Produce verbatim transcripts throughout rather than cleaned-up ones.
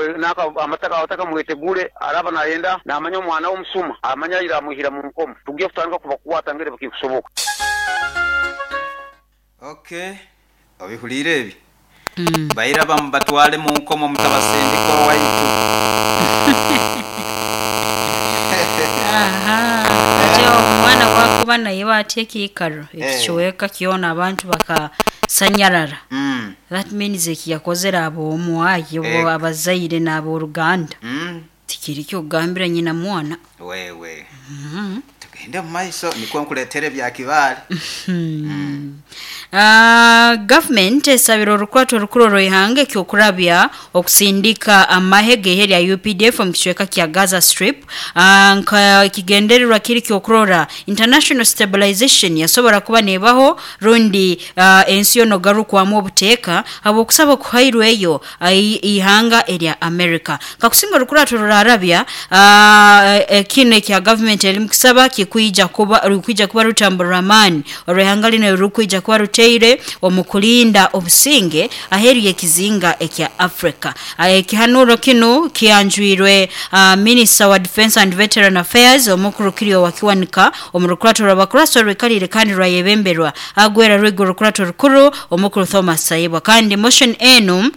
Nanka amataka abataka mwetegure, araba nayenda namanya omwana w'omusuma amanya ira amwihira mu nkomo, tugye kutandika kubakwata ngere bakikusoboka. Okay, obihulire ebi mm. Baira bamubatwale mu nkomo mutabasindika owaitu. Aha, ate omwana wakuba naye batya ekiikaro ekikiweka kyona abantu bakasanyarara. Mm. That means ekiyakozere ab'omwayi Eh. abazaire n'abooluganda Mm. tikiri kyokugambira nyina mwana. Wewe Mm. tugende mu maiso nikwo nkuletere bya kibaale. Mm. Uh, government esabira orukwato orukuru orw'ihanga ekyokurabya okusindika amahe g'ehe lya U P D F omu kicweka kya Gaza Strip. Uh, nka ekigendererwa kiri kyokurora international stabilization yasobora kuba nebaho rundi uh, ensi yono garukwamu obuteeka habw'okusaba okuhairweyo uh, ihanga erya America. Kakusinga orukurato rurarabya uh, kino ekya government eri mukusaba kikwija kuba rukwija kuba rutambura amaani orw'ihanga lino rukwija kuba ruteire omu kulinda obusinge aheeru y'ekizinga ekya Africa. Ekihanuro kino kianjwirwe uh, Minister wa Defense and Veteran Affairs omukuru Kirio Wakiwanika omu rukurato rw'abakuraso rwekalire kandi rwayebemberwa agwera rwego rukurato rukuru omukuru Thomas Saibwa. Kandi motion enu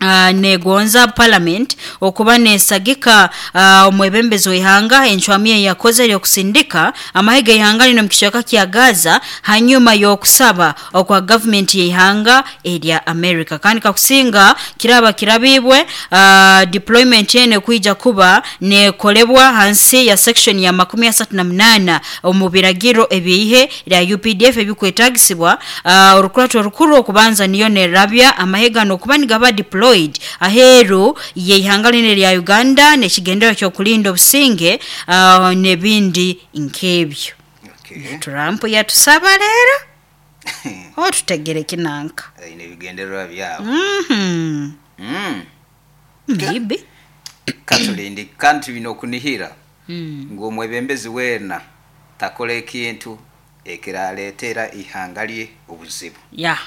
Uh, negonza parliament okuba nesagika uh, omwebembezi w'ihanga enchwami yakoze yokusindika amahega ihanga lino mu kicweka kya Gaza hanyuma y'okusaba okwa government y'ihanga erya America. Kandi kakusinga kiraba kirabibwe uh, deployment ene kuija kuba nekolebwa hansi ya section ya makumi asatu na munana omu biragiro ebihe lya U P D F ebikwetagisibwa uh, orukurato rukuru okubanza niyo nerabya amahega nokuba nigaba deploy aheru yeihanga lino lya Uganda nekigendero kyokulinda obusinge uh, nebindi nkebyo. Okay. Trump yatusaba leero otutegere kinanka Aine ebigendererwa byabo. Mhm. Mm. Maybe. Katulindi kandi bino okunihira Mm. ng'omwebembezi weena takola ekintu ekiraleetera ihanga lye obuzibu. Ya.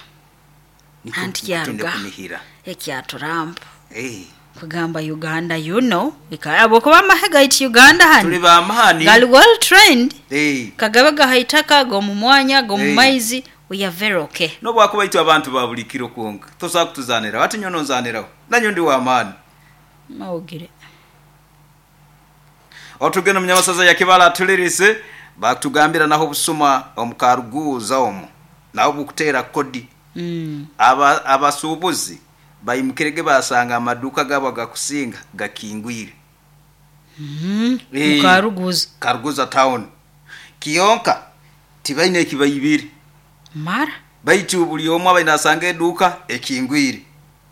Niko Anti tunde kyaruga kunihira. ekya Trump Eh. kugamba Uganda you know abo kuba amahega iti Uganda Tuli hani bamaani. gali well trained. Eh. Kagabe gahaitaka gomu mwanya gomu Eh. maizi we are very okay. Nobwakuba itwe abantu ba buli kiro kwonka tosobola kutuzaniraho ati nyono nzaniraho nanyo ndi w'amaani. Mawugire. Otugenda munyabasaza ya Kibala atulirise batugambira naho obusuma omukaruguza omwo naho bukuteera kodi. Mm. Aba abasuubuzi bayimukirege basanga amaduka gabo agakusinga gakingwire. Mm. Eh. Mukaruguza. Karuguza town. Kiyonka tibaine ekibayibire. Mara Baitu buli omwe abaine asanga eduka ekingwire.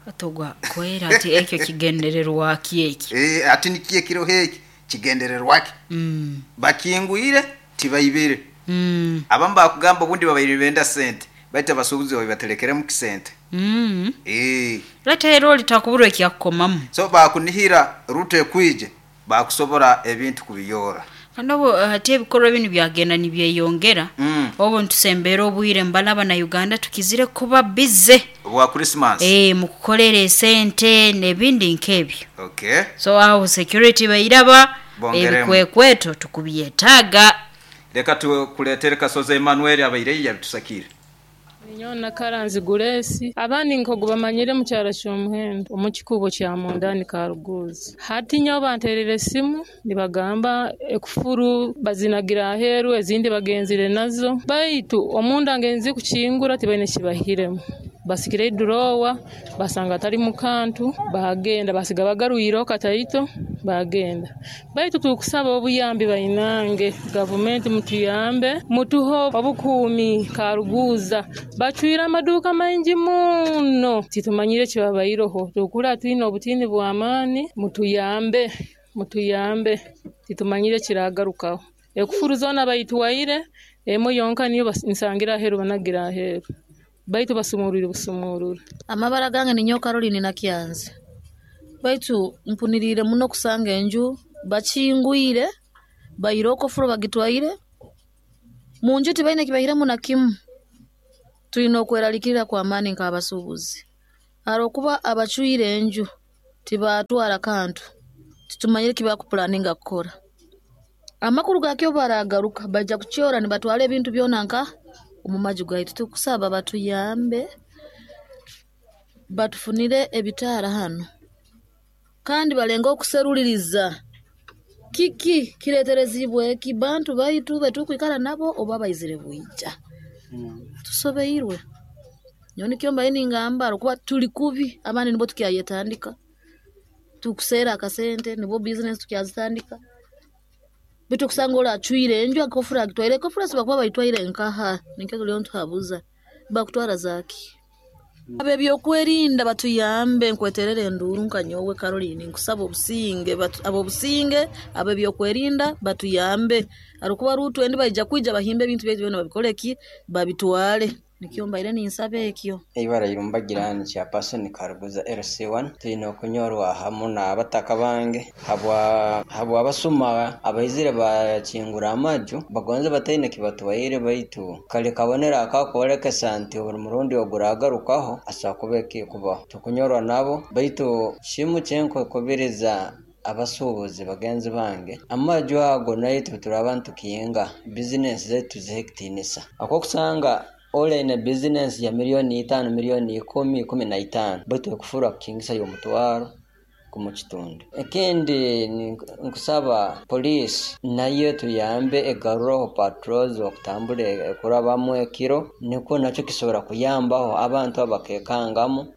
Atogwa kwera ati ekyo kigendererwa ki eki. Eh, ati nikiye kiro heki kigendererwa ki. Mm. Bakingwire tibayibire. Mm. Abamu bakugamba obundi babaire benda sente baita abasuubuzi babaterekeremu kisente. Mm. Eh. Leta ero litakubura ekyakukomamu. So bakunihira rute kwije bakusobora ebintu kubiyora. Kandi obu ate ebikorwa binu byagenda nibyeyongera. Mm. Obu ntusembera obwire mbalaba na Uganda tukizire kuba busy. Obwa Christmas. Eh, mukukolera esente n'ebindi nk'ebyo. Okay. So aho security bayiraba Bongeremu. ebikwekweto tukubyetaaga. Reka tukuletere Kasozi Emmanuel abaire yabitusakire. Nyona Karanzi Guresi abandi nkogu bamanyire mu kyaro ky'omuhendo omu kikubo kya mundani Karuguza. Hati nyo banterere esimu nibagamba ekufuru bazinagira aheru ezindi bagenzire nazo baitu omunda ngenzi kukingura tibaine kibahiremu. Basikire idurowa basanga atari mukantu bagenda basiga bagarwiro kataito bagenda. Baitu tukusaba obuyambi bainange government mutuyambe mutuho obukuumi Karuguza bacwira amaduka maingi muno titumanyire kibabayiroho tukula twine obutini bw'amaani mutuyambe mutuyambe titumanyire kiragarukaho ekufuru zona bayitwaire emo yonka niyo nsangira aheru banagira aheru baitu basumurire busumurure. Amabara gange ni nyoka Caroline na Kyanzi baitu mpunirire muno kusanga enju bakingwire bayiroko furo bagitwaire munju tibaine kibahiremu na kimu. Tulina okweralikirira kwa maani nk'abasuubuzi arokuba abacwire enju Tibatwara kantu. Titumanyire kibakupulaninga kukora. Amakuru gakyo baragaruka bajja kukyora nibatwara ebintu byona nka omu maju gaitu. Tukusaba batuyambe batufunire ebitaara hano kandi balenga okuseruliriza kiki kireterezibwe eki bantu baitu betukwikara nabo oba baizire bwija. Tusobeirwe. Nyowe nikyo mbaire ningamba kuba tuli kubi abandi nibo tukyayetandika. Tukusera akasente nibo business tukyazitandika. Bitu kusanga ola acwire enju akofura agitwaire kofura sibakuba baitwaire nkaha nikyo tuliyo ntuhabuza bakutwara zaki. Abe byokwerinda batuyambe nkweterere enduru nka nyowe Caroline nkusaba obusinge abo obusinge abe byokwerinda batuyambe arukuba rutu endi baija kwija bahimbe ebintu byaitu byona babikoleki babitwale nikyo mbaire ninsaba ekyo. Ibara irumbagira ni kya person Karuguza L C one tulina okunyorwa hamu n'abataka bange habwa habwa abasuma abaizire bakingura amaju bagonze bataine kibatwaire baitu kale kabonera akakwolekesa nti buli murundi oguragarukaho asobola kuba ekikubaho tukunyorwa nabo baitu kimu kyenkukubiriza abasuubuzi bagenzi bange amaju ago naitwe turi abantu tukiyenga bizinesi zaitu tuzihe ekitiinisa akokusanga ole ina business ya milioni itano milioni ikumi ikumi na itano baitu ekufura kukingisa y'omutwaro kumukitundu. Ekindi nkusaba police nayo tuyambe egaruraho patrols okutambula ekurabamu ekiro nikwo nakyo kisobora kuyambaho abantu abakekangamu.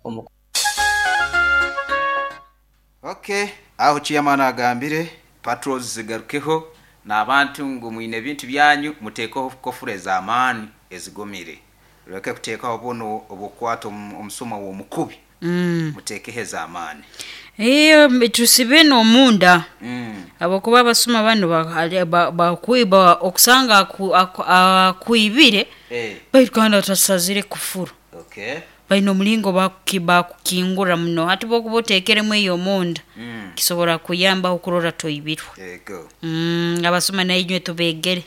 Okay, aho chiyamana agambire patrols zigarukeho n'abantu ngu mwine ebintu byanyu muteekeho kofure z'amaani ezigomire lweke kuteekaho buno obukwata omusuma w'omukubi mm. muteekeho ez'amaani. Iyo tusibe n'omunda mm. Abokuba abasuma bano bakwiba okusanga akuibire hey. Baitu kandi atasazire kufuru. Okay. Baina omulingo bakukingura muno hati bokuba oteekeremu eyo omunda mm. kisobola kuyamba okurora toibirwa. Ego. Mm, abasuma nainywe tubegere.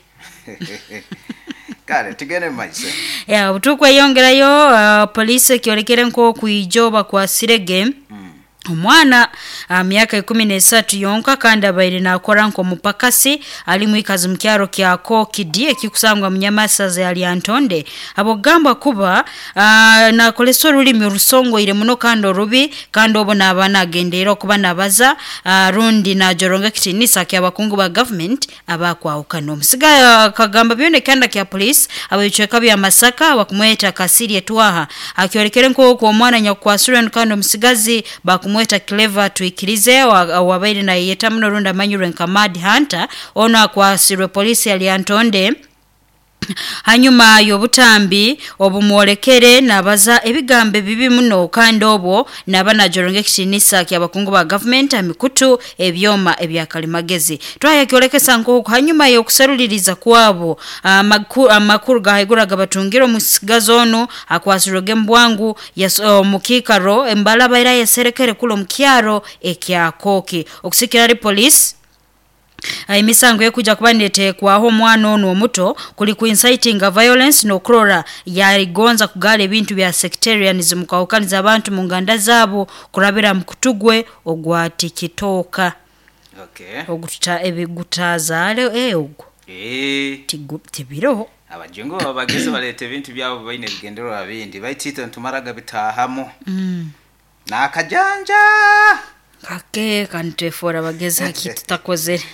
Kale tugende mu maiso. Ya obutukweyongerayo uh, poliisi ekyolekere nk'okwijoba kwa Sirege mm. Omwana uh, myaka ikumi n'esatu yonka kandi abaire nakora nk'omupakasi ali mwikazi mu kyaro kya Kokidi ekikusangwa mu Nyamasaza ya Lyantonde abogamba kuba uh, nakolesa olulimi orusongoire muno kandi orubi kandi obo n'abaana agendeera okuba nabaza uh, rundi najoronga ekitiinisa ky'abakungu ba government abakwahukana. Omusiga uh, kagamba byona ekyanda kya police ab'ebicweka bya Masaka bakumweta Kasirye Twaha akyolekere nk'oku omwana nyakukwasirwe kandi omusigazi bakumweta mweta Clever Twikirize wabaire na yeta muno runda manyurwe nka Mad Hunter ono akwasirwe polisi ya Lyantonde hanyuma y'obutambi obumwolekere nabaza ebigambo bibi muno kandi obwo naba najoronga ekitiinisa ky'abakungu ba government amikutu ebyoma ebyakalimagezi. Twayakyolekesa nk'oku hanyuma y'okuseruliriza kwabo amakuru gahaiguru gabatungira omusigazi ono akwasirwe mbwangu omukikaro embala baira yeserekere kulo mukyaro ekyakoki okusikira ari police. Imisango yekuja kuba netekwaho omwana ono omuto kuli ku inciting violence no kurora yaligonza kugala ebintu bya sectarianism kwawukaniza abantu mu nganda zabo kurabira mu kutugwe ogwa tikitoka. Okay. Ogututa ebigutazaale eh ogwo. Eh. Tibiro. Abajungu babageze balete ebintu byabo baine bigendererwa bindi baitito ntumaraga bitahamo. Mm. Nakajanja. Kake kantefora bageze hakitutakozere.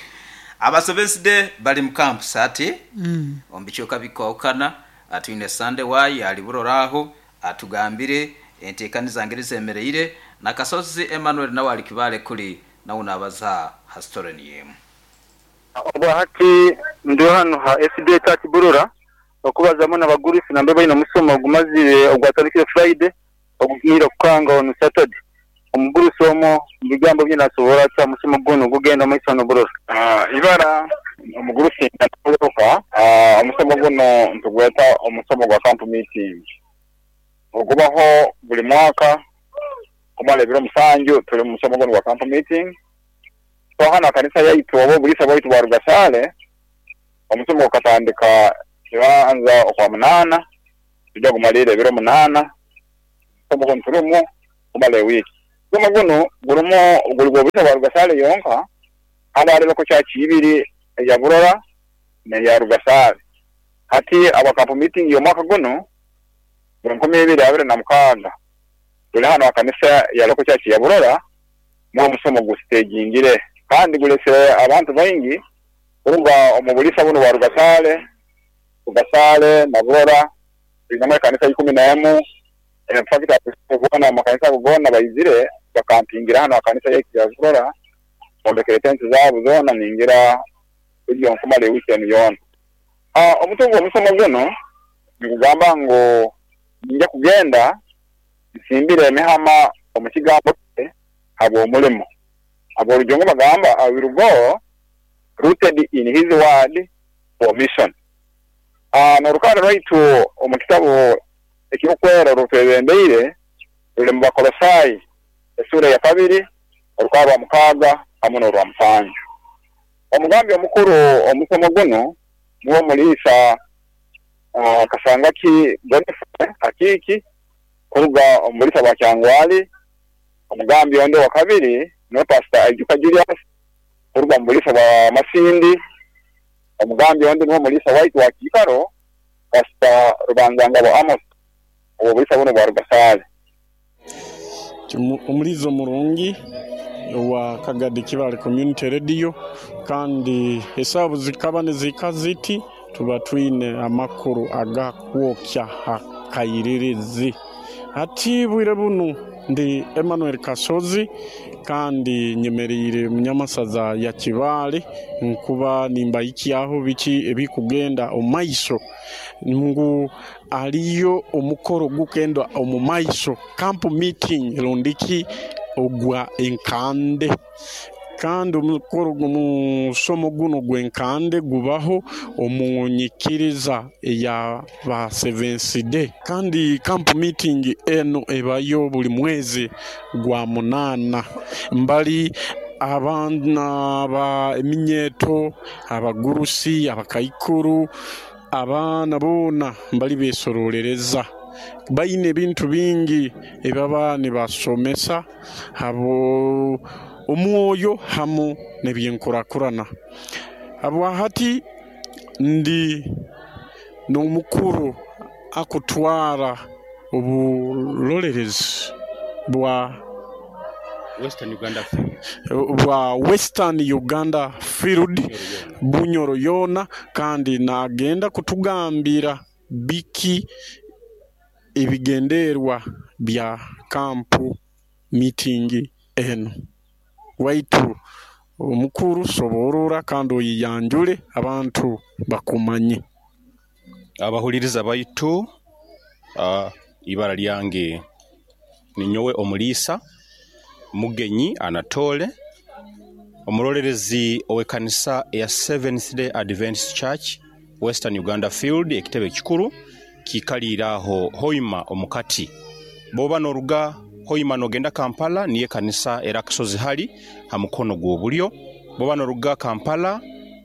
Abasobeside bali mu campus ati mm. ombichoka bikwaukana atwine Sunday wayi aliburoraho atugambire entekaniza ngeri zemereire na Kasozi Emmanuel nawe ali kibale kuli na unabaza hastoreni yemu. Oba hati ndi hano ha S D Church Burora okubazamo n'abagurusi nambe bayina musomo ogumazire ogwatandikire Friday ogumira kukanga on Saturday. Omugurusi omo bigambo byinasobola kya musomo guno gugenda mu isono Burora. Ah ibara omugurusi natoloka ah omusomo guno ntugweta omusomo gwa camp meeting ogubaho buli mwaka kumala ebiro musanju tuli mu musomo guno gwa camp meeting. So hano kanisa yaitu obo bulisa bwaitu bwa Rugasale omusomo gukatandika kibanza okwa munana tujja kumalira ebiro munana omusomo guno tulimu kumala ewiki. Omusomo guno gurumu guli gw'obulisa bwa Rugasale yonka, hali hali local church ibiri eya Burora n'eya Rugasale. Hati aba camp meeting y'omwaka guno enkumi ibiri abiri na mukaaga tuli hano ha kanisa ya local church ya Burora, mwo omusomo gusitejingire kandi gulesere abantu baingi kuruga omu bulisa buno bwa Rugasale, Rugasale na Burora twinemu ekanisa ikumi n'emu. In fact bona amakanisa ago goona baizire bakampingira hano ha kanisa yaitu ya Burora, bombekere tenti zaabo zoona ningira ebyo nkumara eweekend yoona. Ah, omutwe gw'omusomo guno nikugamba ngu ninja kugenda nsimbire emihama omu kigambo kye habw'omulimo. Aborujungu bagamba I will go rooted in his word for mission. Ah, n'orukara rwaitu omu kitabo ekirikwera orutwebembeire ruri mu Bakolosai esura ya kabiri orukara rwa mukaaga hamwe n'orwa musanju. Omugambi omukuru omusomo guno niwo Mulisa uh, Kasangaki Godfrey Akiki kuruga omu bulisa bwa Kyangwali. Omugambi onde wa kabiri niwe Pastor Aijuka Julius kuruga omu bulisa bwa Masindi. Omugambi onde niwo Mulisa waitu wa Kiikaro Pastor Rubanzangabo Amos obwo bulisa buno bwa Rugasale. Omulizo murungi wa Kagadi Kibale Community Radio, kandi esabu zikaba nizika ziti tuba twine amakuru agakwokya hakairirizi. Hati bwire bunu ndi Emmanuel Kasozi kandi nyemerire munyamasaza ya Kibale nkuba nimbayikyaho biki ebikugenda omaiso ngu aliyo omukoro gukenda omumaiso camp meeting rundiki ogwa enkande. Kandi omukoro gumusomo guno gwenkande gubaho omunyikiriza eya ba Seventh Day, kandi camp meeting eno ebayo buli mwezi gwa munana. Mbali abaana ba eminyeto, abagurusi, abakaikuru, abaana boona mbali besorolereza baine ebintu bingi ebaba nibasomesa abo omwoyo hamu n'ebyenkurakurana. Habwahati ndi n'omukuru akutwara oburolerezi bwa Western Uganda Field, bwa Western Uganda Field Bunyoro yona, kandi nagenda kutugambira biki ebigenderwa bya kampu meeting eno. Waitu omukuru soborora kandi oyiyanjule abantu bakumanye. Abahuliriza baitu, uh, ibara lyange ninyowe Omulisa Mugenyi Anatole, omurolerezi ow'ekanisa eya Seventh Day Adventist Church Western Uganda Field ekitebe kikuru kikaliraho Hoima omukati. Boba noruga Hoima nogenda Kampala niye kanisa era kasozi hali ha mukono gw'obulyo. Boba noruga Kampala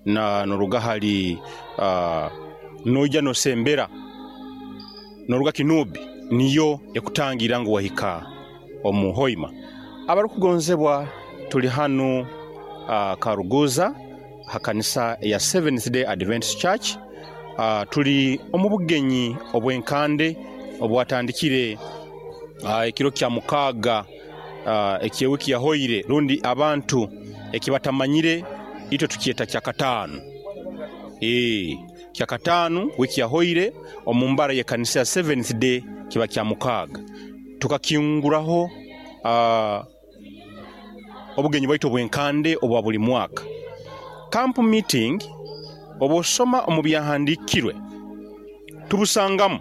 na noruga hali uh, noija nosembera noruga Kinubi niyo ekutangira ngu wahika omu Hoima. Abarukugonzebwa tuli hanu uh, Karuguza ha kanisa ya Seventh Day Adventist Church. Uh, tuli omu bugenyi obwenkande obwatandikire uh, ekiro kya mukaaga uh, ekyewiki yahoire, rundi abantu ekibatamanyire itwe tukyeta kya kataano. Eh, kya kataano wiki yahoire omu mbara y'ekanisa ya Seventh Day kiba kya mukaaga. Tukakinguraho uh, obugenyi bwaitu obwenkande obwa buli mwaka. Camp meeting obosoma omu byahandikirwe tubusangamu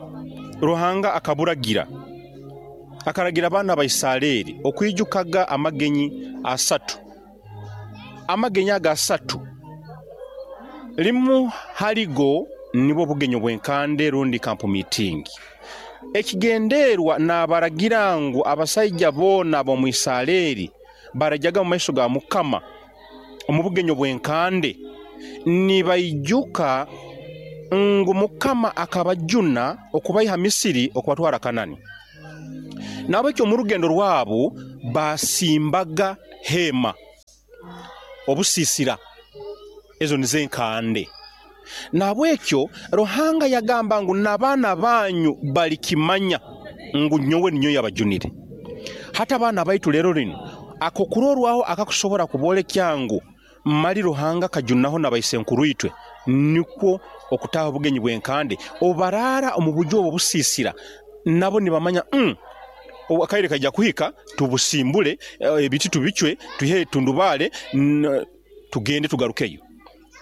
Ruhanga akaburagira akaragira abaana ba Isiraeli okwijukaga amagenyi asatu. Amagenyi aga asatu limu haligo nibwo bugenyi obwenkande rundi camp meeting. Ekigenderwa n'abaragira ngu abasajja boona ab'omu Isiraeli barajaga mu maiso ga Mukama omu bugenyi obwenkande nibaijuka ngu Mukama akabajuna okubaiha Misiri okubatwara Kanani. Nabekyo mu rugendo rwabo Basimbaga hema obusisira ezo nizo enkande. Nabwekyo Ruhanga yagamba ngu n'abaana banyu balikimanya ngu nyowe ninyo yabajunire. Hata abaana baitu lero lino ako kurorwaho akakusobora kubolekya ngu mali Ruhanga kajunaho n'abaisenkuru itwe, nikwo okutaha obugenyi bw'enkande obarara omu buju obwo busisira nabo nibamanya mm, akaire kajja kuhika tubusimbule ebiti tubicwe tuhe tundubale tugende tugarukeyo.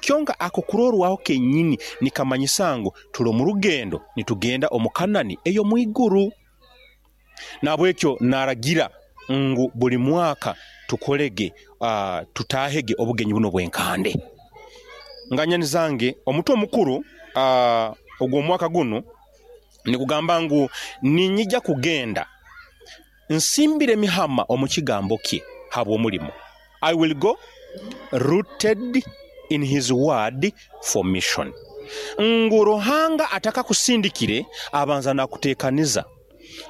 Kyonka ako kurorwaho kenyini nikamanyisa ngu tuli mu rugendo nitugenda omu Kanani eyo mwiguru. Nabwekyo naragira ngu buli mwaka tukolege uh, tutahege obugenyi buno bwenkande. Nganyani zange omutwe omukuru uh, ogwo mwaka guno nikugamba ngu ninyija kugenda nsimbire mihama omu kigambo kye habwo omulimo. I will go rooted in his word for mission. Ngu Ruhanga ataka kusindikire abanza nakutekaniza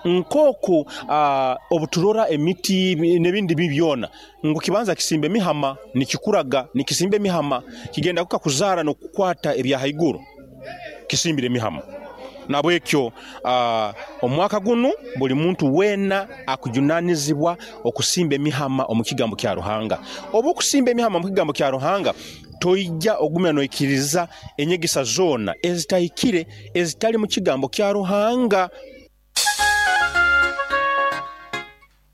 nkoku uh, obuturora emiti n'ebindi bibyona ngu kibanza kisimbe mihama nikikuraga nikisimbe mihama kigenda kuka kuzara no kukwata ebya haiguru kisimbire mihama. Nabwekyo uh, omwaka guno buli muntu wena akujunanizibwa okusimba emihama omu kigambo kya Ruhanga. Obu okusimba emihama omu kigambo kya Ruhanga toijja ogumya noikiriza enyegesa zona ezitahikire ezitali mu kigambo kya Ruhanga.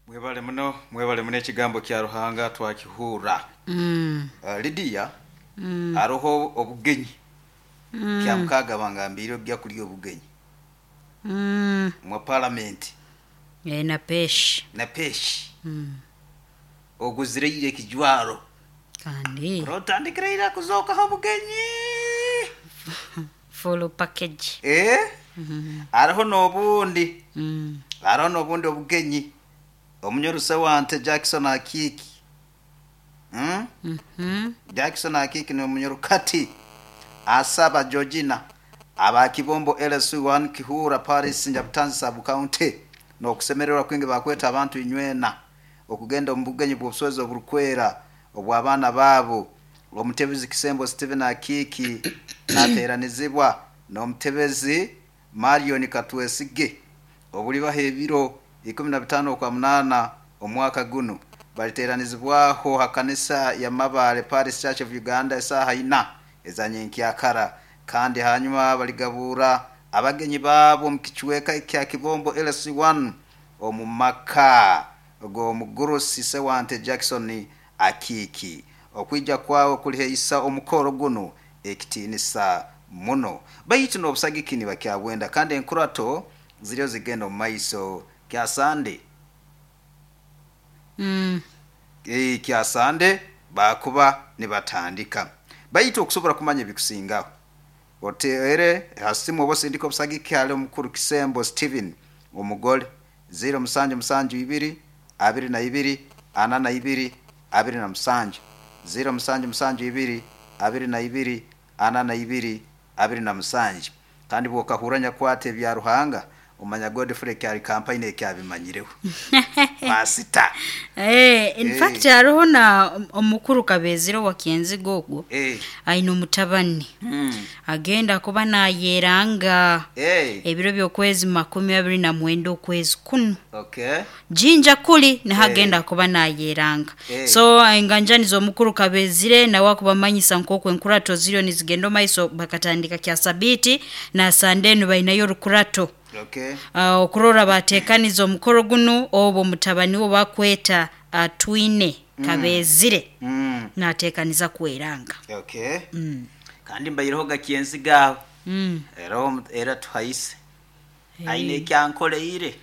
Mwebale muno, mwebale muno ekigambo kya Ruhanga twakihura. Mm. Uh, Lydia, mm. aroho obugenyi. Mm. Kya mukaga bangambire ojja kulya obugenyi. Mm. Mwa parliament. E, na peshi. Na peshi. Mm. Oguzireire ekijwaro. Kandi. Rotandikira kuzoka ho bugenyi. Full package. Eh? Mm -hmm. Aroho nobundi. Mm. Aroho nobundi obugenyi. Omunyoruse wante Jackson Akiki. Mm? Mm -hmm. Jackson Akiki ni omunyorukati. Asaba Georgina abakibombo L S one Kihura Paris Njabutanzi sub county no kusemererwa kwingi bakweta abantu inywena okugenda omubugenyi bw'obuswezi oburukwera obw'abaana baabo. Omutebezi Kisembo Stephen Akiki nateranizibwa n'omutebezi Marion Katwesige obulibaho ebiro ikumi na bitano kwa munana omwaka guno. Baliteranizibwaho hakanisa ya Mabale Paris Church of Uganda esaha ina ezanyenkyakara, kandi hanyuma baligabura abagenyi babo mu kichweka kya Kibombo L C one omu maka go mugurusi Sewante Jackson Akiki. Okwija kwawo kuliheisa omukoro guno ekitinisa muno baitu n'obusagiki nibakyabwenda, kandi enkurato ziriyo zigenda omu maiso kya Sande. Mm. E, kya Sande bakuba nibatandika baitu okusobola kumanya ebikusingaho otere hasimu obosindika obusagiki hali omukuru Kisembo Steven omugole zero musanju musanju ibiri abiri na ibiri ana na ibiri abiri na musanju zero musanju musanju ibiri abiri na ibiri ana na ibiri abiri na musanju. Kandi bwokahuranya kwate ebya Ruhanga omanya Godfrey kyali campaign ekyabimanyireho. Pasita. Eh, in Eh. fact hariho na omukuru Kabezero wa Kienzigo ogwo. Eh. Aine omutabani. Mm. Agenda kuba nayeranga. Eh. Ebiro by'okwezi makumi abiri na mwenda okwezi kuno. Okay. Jinja kuli nahagenda Eh. kuba nayeranga. Eh. So enganjani z'omukuru Kabezire nawe akubamanyisa nk'oku enkurato ziriyo nizigenda maiso bakatandika kya sabiti na Sandenu bainayo rukurato. Okay. Uh, okurora batekaniza omukoro guno obwo mutabani wo bakweta atwine Mm. Kabezire Mm. natekaniza kweranga. Okay. Mm. Kandi mbayireho gakienzigaho. Mm. Era era tuhayise. Hey. Aine ekyankoleire.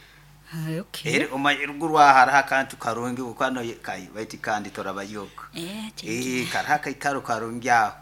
Ah, okay. Ere omayiruguru ahara akantu karungi ukano kai baiti kandi torabayoko. Eh, Eh, karaha kaikaro karungi aho.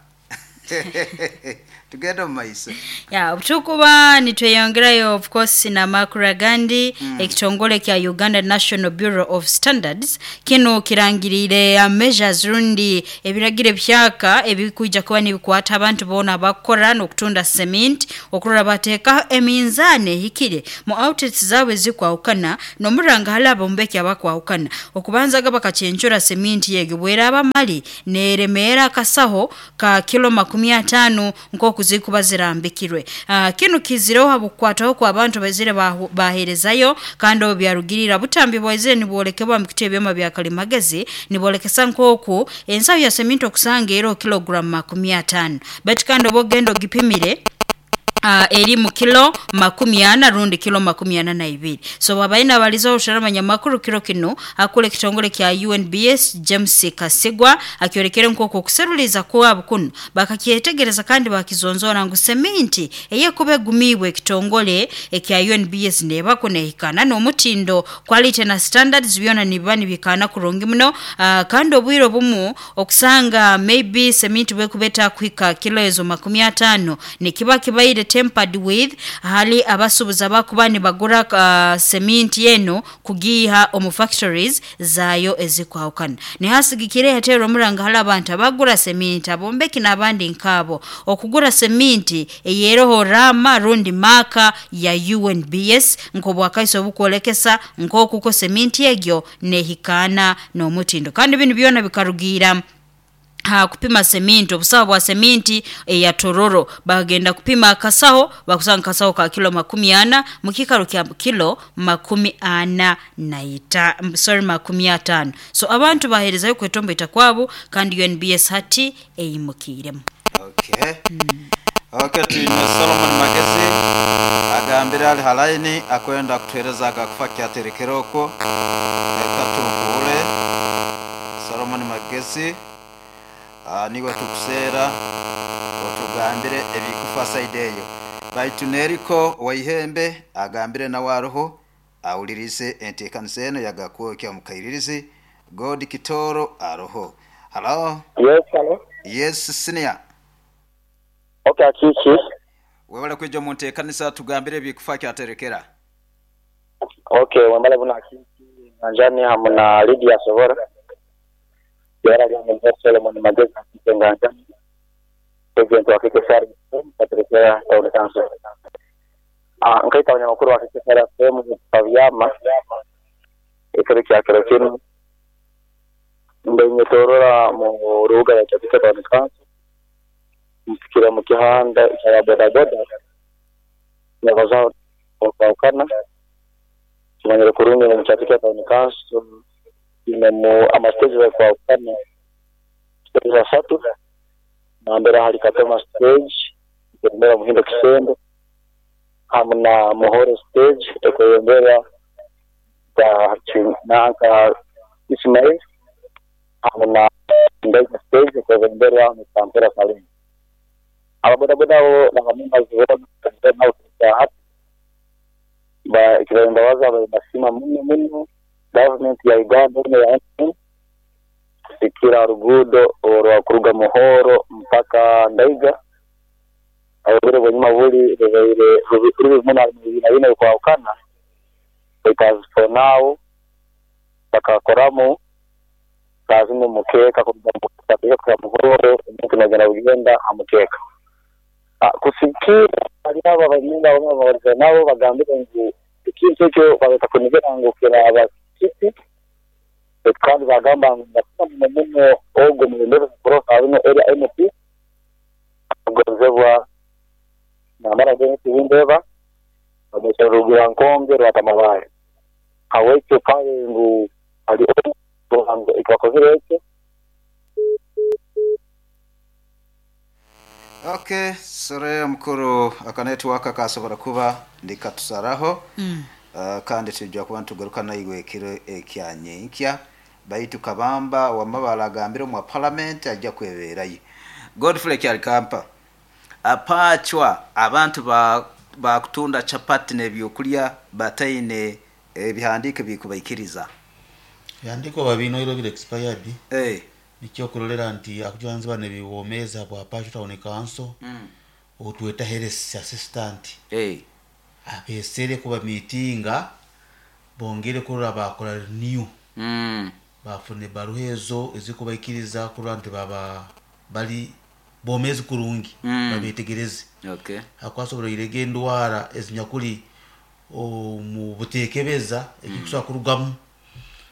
Tugende omu maiso. Ya, obutukuba nitweyongerayo, of course, n'amakuru agandi. mm. Ekitongole kya Uganda National Bureau of Standards kino kirangirire uh, measures rundi ebiragiro ebihyaka ebikwija kuba nibikwata abantu boona abakukora n'okutunda cement, okurora bateekaho eminzaani ehikire mu outlets zaabwe ezikwahukana, n'omuranga hali abombeki abakwahukana. Okubanzaga bakacyencura cement yegi bweraaba mali neeremeera akasaho ka kilo makumi ataano nk'oku zikuba zirambikirwe. uh, kinu kizireho habwokukwataho kwa abantu bazire bahu- baheerezayo, kandi obu byarugirira butambi bwaizire nibwolekebwa mu kiti ebyoma bya kalimagezi nibolekesa nk'oku ensaho ya seminti okusanga eriho kilogram makumi ataano, baitu kandi oba ogenda ogipimire, uh, eri mu kilo makumi ana rundi kilo makumi ana na ibiri. So wabaine abalizaho obushara amakuru kiro kinu, akula ekitongole kya U N B S James Kasigwa akyorekere nk'oku okuseruliza kwabo kuno bakakyetegereza kandi bakizonzora ngu seminti eyekuba egumiibwe ekitongole ekya U N B S nebako nehikana n'omutindo, quality na standards byona nibiba nibikana kurungi muno. uh, kandi obwire obumu okusanga maybe seminti bwekuba etakuhika kilo ezo makumi ataano nikiba kibaire tempered with hali abasubuza bakuba nibagura uh, seminti eno kugiha omu factories zayo ezikwahukana. Nihasigikire hatero omuranga hali abantu abagura seminti, abombeki n'abandi nkabo, okugura seminti eyeroho rama rundi maka ya U N B S nk'obwakaiso obukwolekesa nk'okuko seminti egyo nehikana n'omutindo. Kandi binu byona bikarugira ha kupima seminti, obusaho bwa seminti eya Tororo bagenda kupima akasaho bakusanga kasaho ka kilo makumi ana mukikaro kya kilo makumi ana na ita, sorry, makumi atano. So abantu baherezayo kwetombo itakwabo, kandi U N B S hati eyimukiremu. Okay. Mm. Okay, tuine Solomon Magezi agambira ali halaini akwenda kutuhereza akakufa kyaterekera okwo. Reka tubuhure Solomon Magezi. Uh, niwe tukuseera otugambire ebikufa side eyo. Baitu neriko waihembe agambire nawe aroho awulirize enteekanisa eno yagakwokya mukairirizi. God Kitoro aroho. Hello. Yes, hello. Yes, senior. Okay, kiki. Webale kwijja mu nteekanisa tugambire ebikufa kyaterekera. Okay, wembale buna kiki nanjani hamu na Lydia Sobora. Yara lya Solomon Magezi nganja president wa K K S R katerekera town council. Ah, nkaita abanyamakuru wa K K S R F M pavyama ekero kya kero kinu ndenyetorora mu rubuga ya Kyaterekera town council mfikira mu kihanda kya boda boda nyabaza okawukana kimanyire kurungi mu Kyaterekera town council inemu amastage ya kwawukana stage asatu nambera hali Katoma stage mbera Muhindo Kisembo hamwe na Muhoro stage ekweyongera ka nanka Ismail hamwe na Ndaiga stage ekweyongera mu Kampala Salim. Ababodaboda abo n'abamembazi bo hati ba ikibembabaza basima muno muno government ya Uganda ya kusikira rugudo orwa kuruga Muhoro mpaka Ndaiga abagore bonyuma buli rubaire rubikuru muna na bino kwawukana because for now bakakoramu kazimu mukeka kuruga kwa Muhoro umuntu nagenda bugenda amukeka kusikira ali aba banyinga bamwe nabo bagambire ngu ikintu ekyo bagata kunigera ngu kiraba kiti kandi bagamba ngu muno ogo mulembere kurofa bino area M P agozebwa namara gene tibindeba abasharugira nkonge rwatamabaye awekyo kale ngu ali ogo ikwakozere ekyo. Okay, sore mukuru aka network kasobora kuba ndikatusaraho. Mm. Uh, kandi tujja kuba tugaruka naiwe ekiro ekyanyenkya baitu kabamba wamabala agambire mu parliament ajja kweberayo. Godfrey Kyalikampa apachwa abantu ba bakutunda chapati n'ebyokulya bataine ebihandike bikubaikiriza Yandiko babino iro bile expired. Eh. Nikyokurolera nti akujanzi bane biwomeza bwa Pashu Town Council Mm. otweta health assistant hey. abesere kuba mitinga bongere kurora bakora renew mm. bafune baruha ezo ezikubaikiriza kurora nti baba bali bomezi kurungi Mm. babetegereze Okay. hakwasobora irege endwara ezinyakuli omu butekebeza ekikusobola kurugamu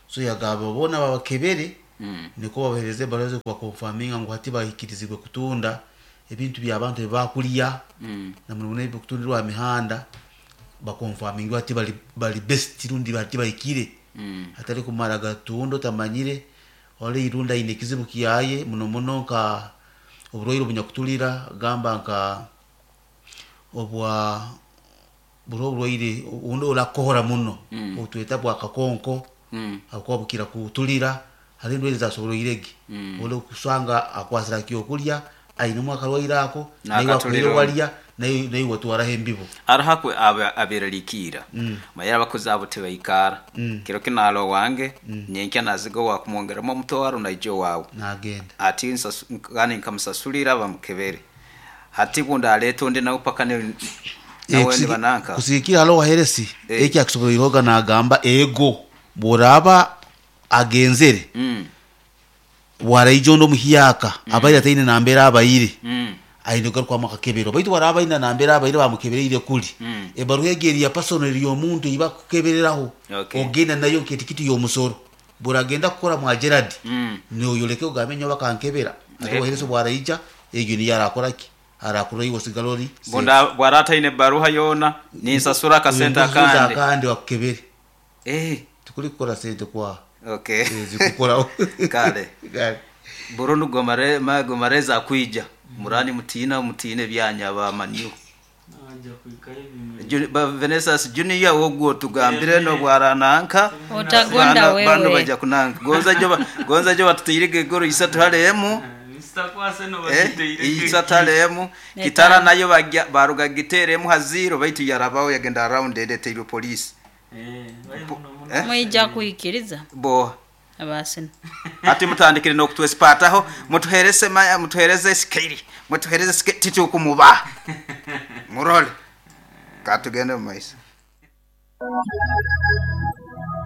so yagamba bona babakebere Mm. niko babahereze ebaruha ezikubakonfaminga ngu hati bahikirizibwe kutunda ebintu byabantu ebibakulya Mm. namuno ebikutundirwa aha mihanda bakonfaminga hati bali, bali best rundi hati bahikire Mm. atari kumara gatunda otamanyire ole irunda aine ekizibu kiyaye muno muno nka oburwaire obunyakutulira gamba nka obwa buri oburwaire obundi orakohora muno Mm. obutweta bwa kakonko Mm. hakuba bukira kutulira hari endwaire zasoboroirege Mm. ole kusanga akwasira kyokulya ainemu akarwaire ako naye N'akatulira wakwire walya naye naye watwaraho embibo arahakwe aberalikiira Mm. mayera abakozi abo tebaikara Mm. kiro kinalo wange Mm. nyenkya naziga wakumwongeramo omutwaro naija owawe nagenda ati nsasu- kandi nkamusasulira bamukebere hati bundi aleta undi nawe paka ne- nawe nibananka kusigikira halo waheresi Eh. eki akusoboroiroga nagamba ego bworaba agenzere Mm. waraija ondi omuhiyaka abaire ataine nambere abaire Mm. aine kugarukwamu akakebero baitu waraba aine nambere abaire bamukebereire kuli Mm. ebaruha egi eri ya personal eri y'omuntu ei bakukebereraho Okay. ogenda nayo nketikiti y'omusoro buragenda kukora mwa Gerard Mm. noyoleke ogambe nyowe bakankebera ate Eh. waheresi bwaraija egyo niyo arakoraki arakura iwe osigala ori bundi bwara ataine baruha yona ninsasura akasente akandi akandi bakukebere eh tikuri kukora sente kwa okay Eh, zikukoraho kale Kale. burundu gomare ma gomareza akwija murani mutina mutine byanya bamanyu Ju- ba Vanessa Junior wogwo tugambire no bwarananka Utagonda Bano- wewe. bano bajja kunanka gonza jo ba- gonza jo batuteyirige goro isatu halemu eh isatu halemu kitara nayo bagya baruga giteremu haziro baitu yarabaho yagenda around edeteirwe police eh? Mwija kuikiriza bo abasina ati mutandikire nokutwesipataho mutuherese maya mutuhereze sikiri mutuhereze sikiri titukumuba murole katugende mu maiso.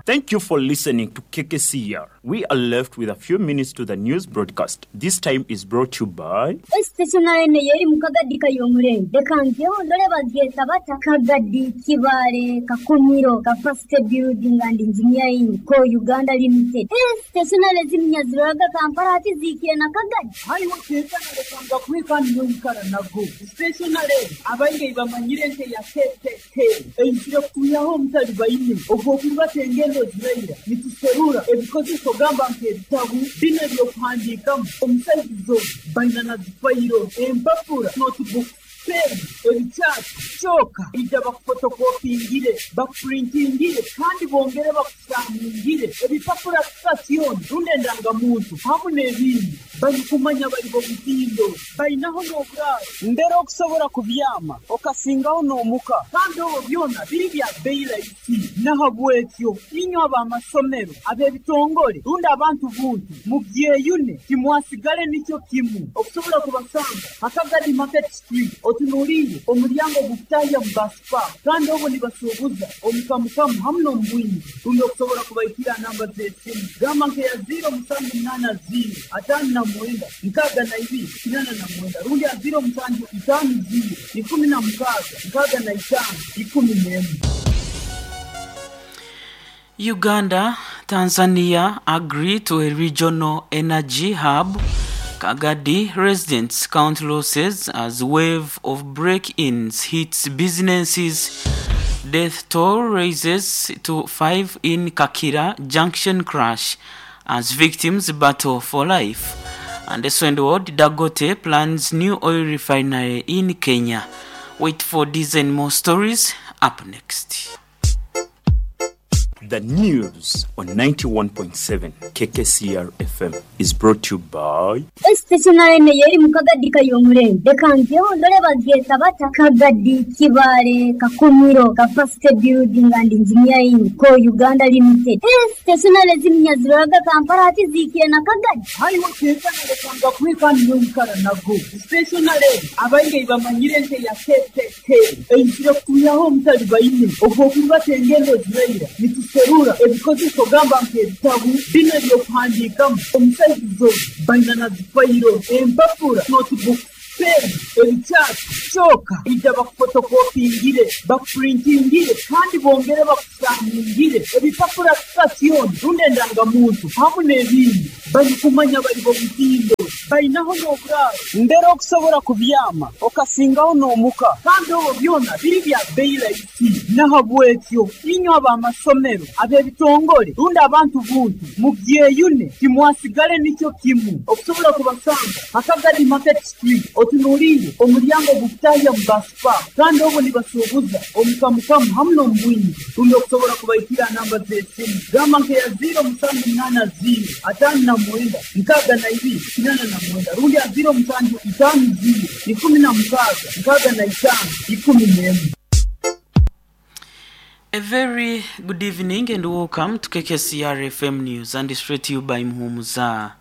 Thank you for listening to K K C R. We are left with a few minutes to the news broadcast. This time is brought to you by Stationary ne yeri mu kagadi kayomurenge reka ngeho ndore bageta bata Kagadi Kibale Kakumiro Capacity Building and Engineering ko Uganda Limited. Eh, stationary ziminyaziraga Kampala ati zikire na Kagadi hariho stationary kanga kwikandi n'oyikara nago stationary abaingi bamanyire nte ya K K K eizire kutuyaho omutali baine ogw'okuba tengendo ziraira nituserura ebikozeso gamba nk'ebitabu bino ebyokuhandiikamu omusaizizo baina na zifayiro empapura notebook pen ebikyapa kyoka ija bakufotokopingire bakupurintingire kandi bongere bakusaamingire ebipapura sitasioni rundi endangamuntu hamu n'ebindi barikumanya bari bomutindo bainaho n'oburaaro mbere okusobola kubyama okasingaho n'omuka kandi obwo byona biri bya bbeyi rahisi nahabwekyo inywe ab'amasomero ab'ebitongole rundi abantu buntu mubyeyune timwasigale nikyo kimu okusobola kubasanga Akagadi Market Street otunuulire omulyango gukutahya mu basipa kandi obwo nibasuubuza omukamukamu hamu n'omubwingi rundi okusobola kubaikira namba z'esimu gamba nkeya ziro musanju munaana ziro ataano na mwenda nkaaga na ibiri kinana na mwenda rundi ya ziro musanju itaano ziro ikumi na mukaaga nkaaga na itaano ikumi n'emu. Uganda, Tanzania agree to a regional energy hub. Kagadi residents count losses as wave of break-ins hits businesses. Death toll rises to five in Kakira junction crash as victims battle for life. And the Swend World, Dangote plans new oil refinery in Kenya. Wait for these and more stories up next. The news on ninety-one point seven K K C R F M is brought to you by Stationary yeri mukagadi kayomurembe reka ndore bageta bata Kagadi Kibale Kakumiro Capacity Building and Engineering Co Uganda Limited. Stationary zimnyaziraga Kampala ati zikire na Kagadi hariho kekana kwika niyo nago stationary abainge bamanyire nte ya K K K einzire kuyaho mutali bayine obwo kuba engendo ziraira nituserura ebikozeso gamba nk'ebitabu bino ebyokuhandiikamu omusaizizo baina na zifayiro empapura notebook pen ebikyasi kyoka ija bakufotokopingire bakupurintingire kandi bongere bakusangingire ebipapura sitasioni rundi endangamuntu hamu n'ebindi barikumanya bari bomutindo bainaho n'oburaaro mbere okusobola kubyama okasingaho n'omuka kandi obwo byona biri bya bbeeyi rahisi nahabwekyo inywe ab'amasomero ab'ebitongole rundi abantu buntu mubyeyune timwasigale nikyo kimu okusobola kubasanga Akagadi Market Street otunuulire omulyango gukutahya mu basipa kandi obwo nibasuubuza omukamukamu hamu n'omubwingi rundi okusobola kubaikira namba z'esimu gamba nkeya ziro musanju munaana ziro ataano na mwenda nkaaga na ibiri kinaana na mwenda rundi ya ziro musanju itaano ziro ikumi na mukaaga nkaaga na itaano ikumi n'emu. A very good evening and welcome to K K C R F M News, and it's brought to you by Muhumuza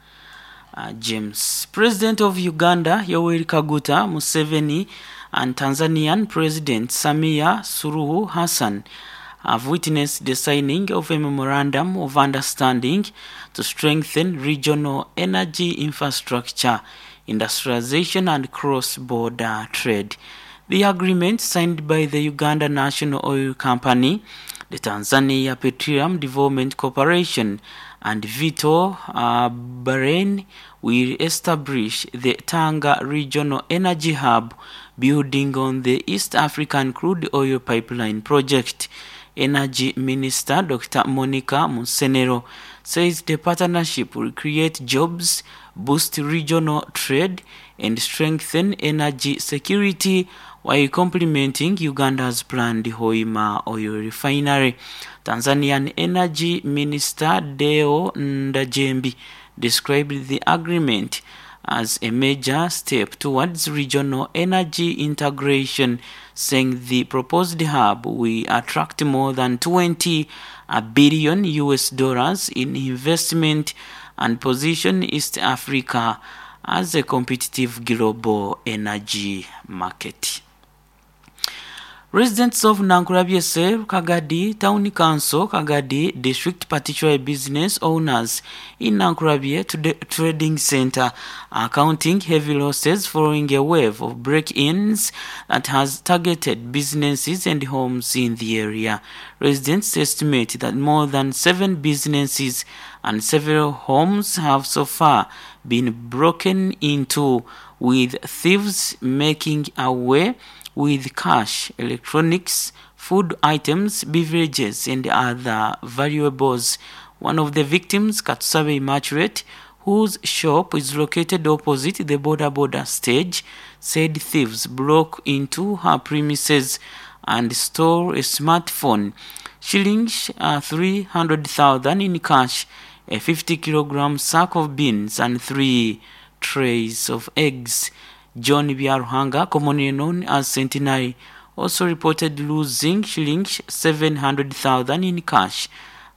uh, James. President of Uganda Yoweri Kaguta Museveni and Tanzanian President Samia Suluhu Hassan have witnessed the signing of a memorandum of understanding to strengthen regional energy infrastructure, industrialization and cross-border trade. The agreement, signed by the Uganda National Oil Company, the Tanzania Petroleum Development Corporation, and Vito uh, Bahrain, will establish the Tanga Regional Energy Hub, building on the East African Crude Oil Pipeline Project. Energy Minister Doctor Monica Musenero says the partnership will create jobs, boost regional trade, and strengthen energy security while complementing Uganda's planned Hoima oil refinery. Tanzanian Energy Minister Deo Ndajembi described the agreement as a major step towards regional energy integration, saying the proposed hub will attract more than twenty billion U S dollars in investment and position East Africa as a competitive global energy market. Residents of Nankurabyese, Kagadi Town Council, Kagadi District, particularly business owners in Nankurabye to the Trading Center, are counting heavy losses following a wave of break-ins that has targeted businesses and homes in the area. Residents estimate that more than seven businesses and several homes have so far been broken into, with thieves making away with cash, electronics, food items, beverages, and other valuables. One of the victims, Katsusabe Immaculate, whose shop is located opposite the border border stage, said thieves broke into her premises and stole a smartphone, shillings uh, three hundred thousand in cash, a fifty kilogram sack of beans, and three trays of eggs. John Biaruhanga, commonly known as Centenary, also reported losing shillings seven hundred thousand in cash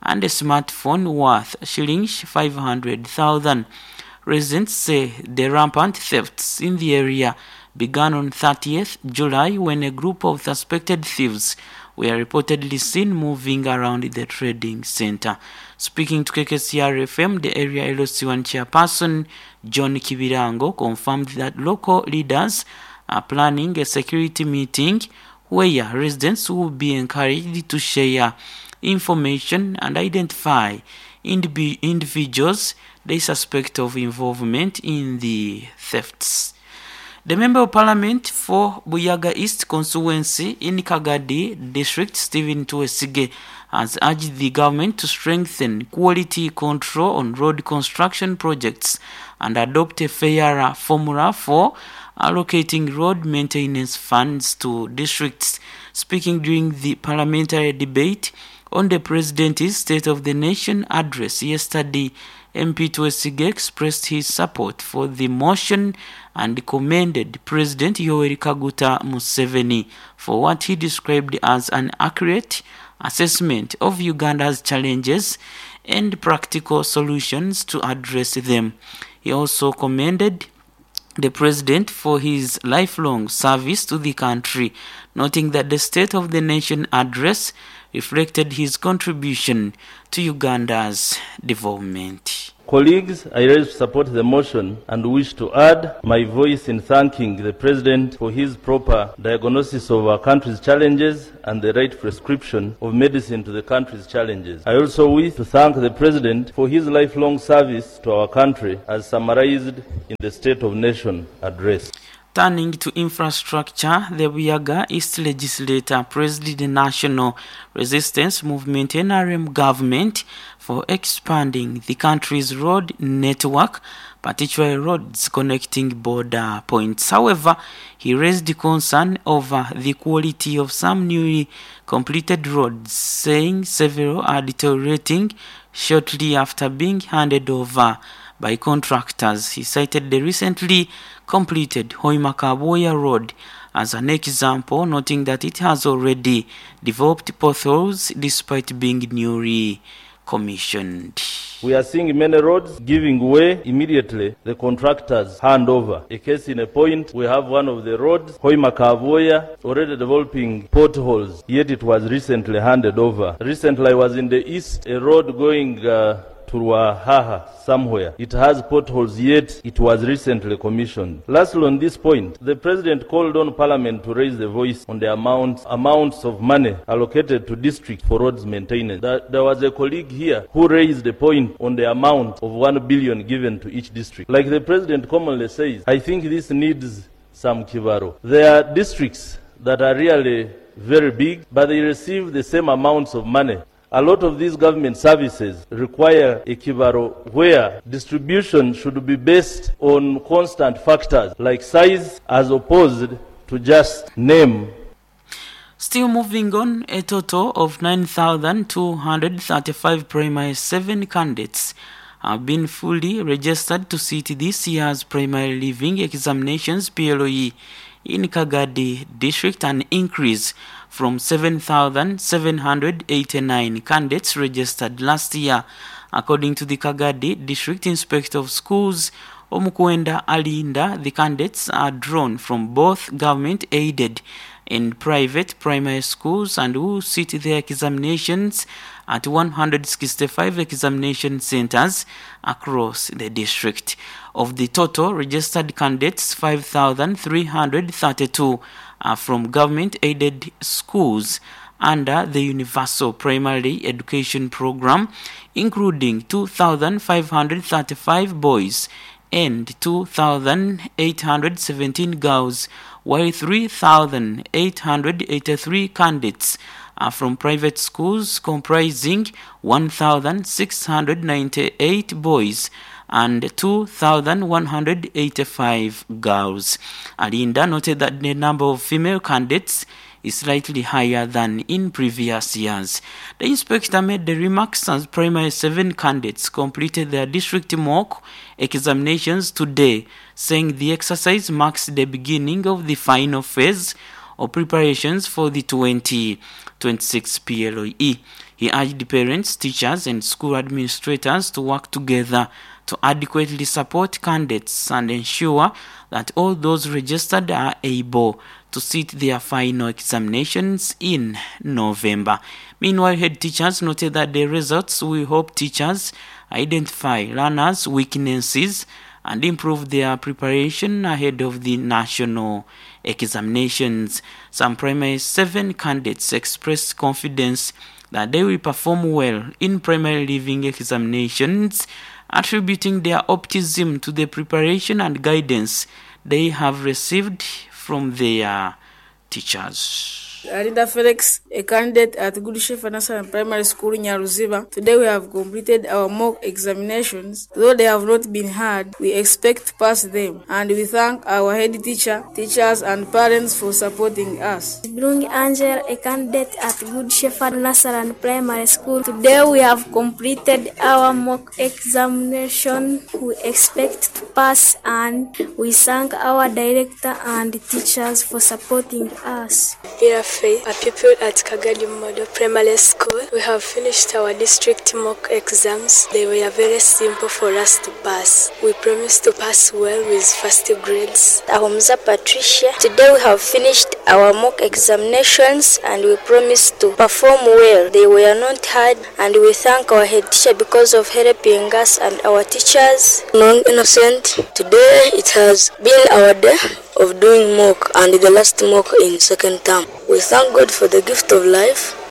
and a smartphone worth shillings five hundred thousand. Residents say the rampant thefts in the area began on thirtieth July when a group of suspected thieves were reportedly seen moving around the trading center. Speaking to K K C R F M, the area L C one chairperson, John Kibirango, confirmed that local leaders are planning a security meeting where residents will be encouraged to share information and identify indiv- individuals they suspect of involvement in the thefts. The Member of Parliament for Buyaga East constituency in Kagadi District, Stephen Tuwesige, has urged the government to strengthen quality control on road construction projects and adopt a fairer formula for allocating road maintenance funds to districts. Speaking during the parliamentary debate On the President's State of the Nation address yesterday, M P Twesige expressed his support for the motion and commended President Yoweri Kaguta Museveni for what he described as an accurate assessment of Uganda's challenges and practical solutions to address them. He also commended the President for his lifelong service to the country, noting that the State of the Nation address reflected his contribution to Uganda's development. Colleagues, I rise to support the motion and wish to add my voice in thanking the President for his proper diagnosis of our country's challenges and the right prescription of medicine to the country's challenges. I also wish to thank the President for his lifelong service to our country as summarized in the State of Nation address. Turning to infrastructure, the Buyaga East legislator praised the National Resistance Movement N R M government for expanding the country's road network, particularly roads connecting border points. However, he raised concern over the quality of some newly completed roads, saying several are deteriorating shortly after being handed over by contractors. He cited the recently completed Hoima-Kaboya Road as an example, noting that it has already developed potholes despite being newly commissioned. We are seeing many roads giving way immediately the contractors hand over. A case in a point, we have one of the roads, Hoima-Kaboya, already developing potholes, yet it was recently handed over. Recently I was in the east, a road going uh, to Ruahaha somewhere. It has potholes, yet it was recently commissioned. Lastly, on this point, the President called on Parliament to raise the voice on the amounts, amounts of money allocated to districts for roads maintenance. There, there was a colleague here who raised the point on the amount of one billion given to each district. Like the President commonly says, I think this needs some kibaro. There are districts that are really very big, but they receive the same amounts of money. A lot of these government services require a kibaro where distribution should be based on constant factors like size as opposed to just name. Still moving on, a total of nine thousand two hundred thirty-five primary seven candidates have been fully registered to sit this year's primary leaving examinations P L O E in Kagadi district, an increase from seven thousand seven hundred eighty-nine candidates registered last year. According to the Kagadi District Inspector of Schools, Omukwenda Alinda, the candidates are drawn from both government-aided and private primary schools and who sit their examinations at one hundred sixty-five examination centers across the district. Of the total registered candidates, five thousand three hundred thirty-two are from government-aided schools under the Universal Primary Education Program, including two thousand five hundred thirty-five boys and two thousand eight hundred seventeen girls, while three thousand eight hundred eighty-three candidates are from private schools comprising one thousand six hundred ninety-eight boys and two thousand one hundred eighty-five girls. Alinda noted that the number of female candidates is slightly higher than in previous years. The inspector made the remarks as primary seven candidates completed their district mock examinations today, saying the exercise marks the beginning of the final phase of preparations for the twenty twenty-six P L O E. He urged parents, teachers, and school administrators to work together to adequately support candidates and ensure that all those registered are able to sit their final examinations in November. Meanwhile, head teachers noted that the results will help teachers identify learners' weaknesses and improve their preparation ahead of the national examinations. Some primary seven candidates expressed confidence that they will perform well in primary leaving examinations, attributing their optimism to the preparation and guidance they have received from their teachers. Alinda Felix, a candidate at Good Shepherd National Primary School, Nyaruziba. Today we have completed our mock examinations. Though they have not been hard, we expect to pass them. And we thank our head teacher, teachers and parents for supporting us. Brung Angel, a candidate at Good Shepherd National Primary School. Today we have completed our mock examination. We expect to pass and we thank our director and teachers for supporting us. Irafe, a pupil at Kagadi Model Primary School. We have finished our district mock exams. They were very simple for us to pass. We promise to pass well with first grades. Ahumza Patricia. Today we have finished our mock examinations and we promise to perform well. They were not hard and we thank our head teacher because of helping us and our teachers. Non-innocent. Today it has been our day of doing mock and the last mock in second term. We thank God for the gift of life.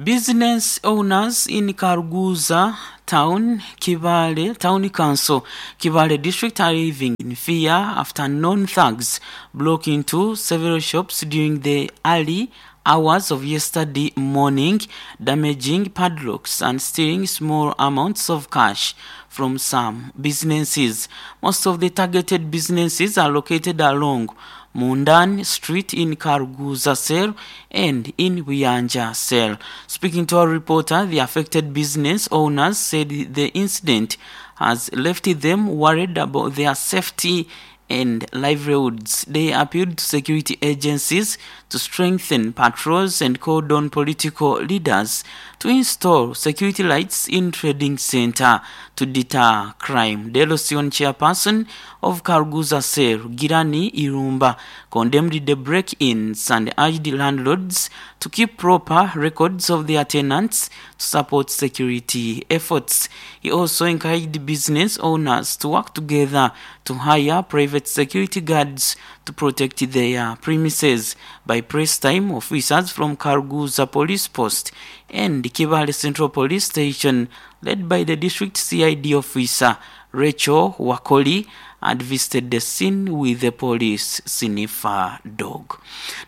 Business owners in Karuguza Town, Kibale Town Council, Kibale District are living in fear after known thugs broke into several shops during the early hours of yesterday morning, damaging padlocks and stealing small amounts of cash from some businesses. Most of the targeted businesses are located along Mundan Street in Karuguza Cell and in Buyanja Cell. Speaking to our reporter, the affected business owners said the incident has left them worried about their safety and livelihoods. They appealed to security agencies to strengthen patrols and called on political leaders to install security lights in trading center to deter crime. The L C one chairperson of Karuguza Cell, Girani Irumba, condemned the break-ins and urged landlords to keep proper records of their tenants to support security efforts. He also encouraged business owners to work together to hire private security guards to protect their premises. By press time, officers from Karuguza Police Post and Kibale Central Police Station, led by the district C I D officer Rachel Wakoli, had visited the scene with the police sniffer dog.